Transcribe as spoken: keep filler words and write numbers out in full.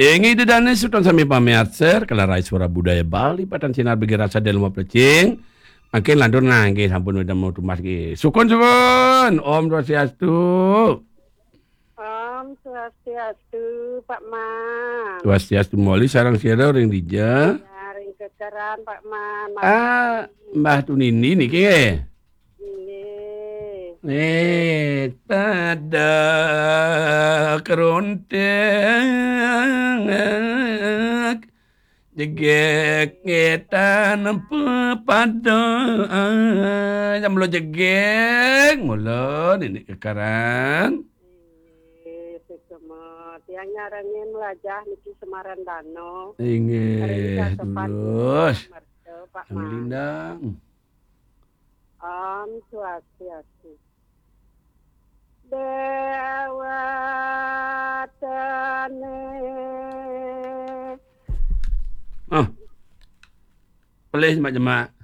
Inggih Ida dané semeton sami pamiarsa, Kalarai Suara Budaya Bali, patan sinar bagi rasa dalam plecing. Mangkin lantur nangkih sampun wénten mau tumbas nggih. Sukun, sukun. Om Swastiastu. Om Swastiastu, Pak Man. Swastiastu moli, sareng sira ring dija? Ya, ring kekeran, Pak Man. Ah, Mbah Tunini niki nggih. Nggih. Eh, pada keronteng jegég ngetan pepada. Jam lo jegég, mula nini kekeran. Nggih, sukma. Tiang nyarengin melajah niki Semarang Dano. Inggih, terus. Merta, Pak Man. Lindang. Om Swastiastu. Dewatane. Oh. Pelih jemak-jemak.